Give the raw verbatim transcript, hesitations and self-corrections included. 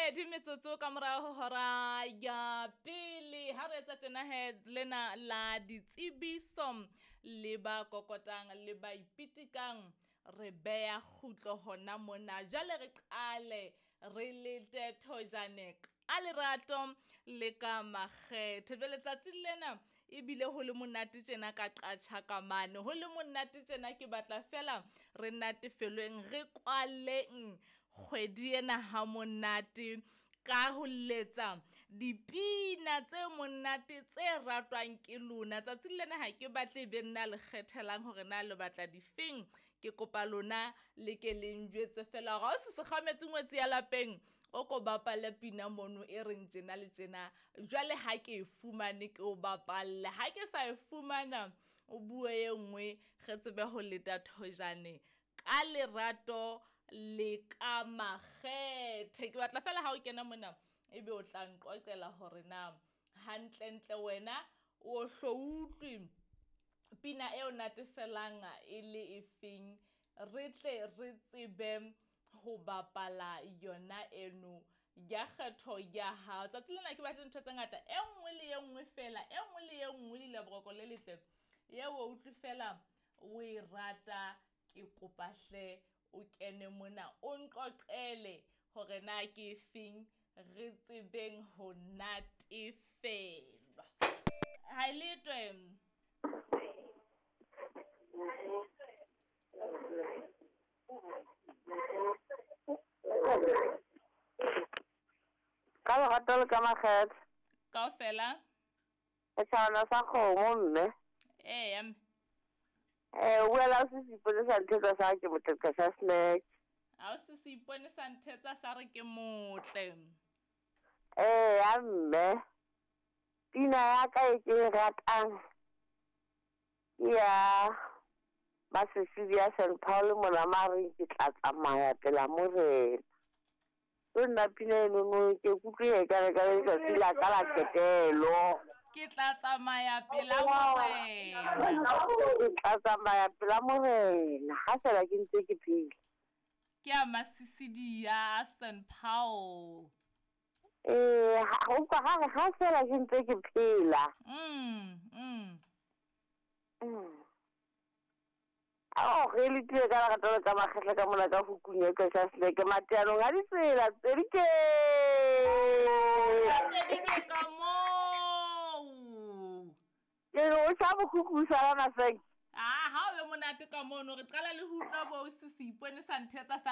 Pedi metsotso ka morao ho hora ya pele ha re etsa tjena he lena la ditsebiso le ba kokotang le ba ipitikang re beya kgutlo hona mona. Jwale re qale re lete thojane ka lerato le ka makgethe. Jwale tsatsing lena ebile ho le monate tjena ka qatjha ka mane, ho le monate tjena ke batla fela re natefelweng, re kwaleng kgwedi ena ha monate ka ho letsa dipina tse monate tse ratwang ke lona. Tsatsing lena ha ke batle e be nna le kgethelang hore na le batla difeng. Ke kopa lona le ke le njwetse fela hore ha o se sekgametse ngwetsi ya lapeng, o ko bapale pina mono e reng tjena le tjena. Jwale ha ke e fumane ke o bapalle, ha ke sa e fumana o bue e nngwe re tsebe ho leta thojane ka lerato le ka makgethe. Ke batla fela ha o kena mona ebe o tla nqoqela hore na hantlentle wena o hlo utlwe pina eo natefelang e le efeng, re tle re tsebe ho bapala yona eno ya kgetho ya hao. Tsatsi lena ke batle ntho tse ngata, e nngwe le e nngwe fela, e nngwe le e nngwe le boroko le letle eo o utlwe fela o e rata. Ke kopa hle o kene mona o nqoqele hore na ke efeng re tsebeng ho natefelwa. Ha e letwe. Ka lerato le ka makgethe. Kaofela. Setjhabana sa kgomo mme. Eya mme. Eh, o buela o se seipone sa nthetsa sa ke motle ka snack. Ha o se seipone sa nthetsa sa re ke motle. Eh, ya mme. Pina ya ka e ke e ratang ke ya Masesidi ya Saint Paul mona mare ke tla tsamaya pela morena. Ke nna pina eno ke kutlwe e ka re ka letsatsi la ka la qetelo. Ke tla tsamaya pela morena. Ke tla tsamaya pela morena ha fela ke ntse ke phela. Ke ya Masesidi ya Saint Paul. Eh, ha o ka ha ha fela ke ntse ke phela. Mm, mm. Mm. Oh, re le tile ka lerato le ka makgetla ka mona ka hukung ya ka seleke mateanong a ditsela tse di ke. Tse di ke ka moo. Ke re o tjha bokhukhu sala maseng. Ah, ha o be monate ka mono re qala le ho utlwa bo se seipone sa nthetsa sa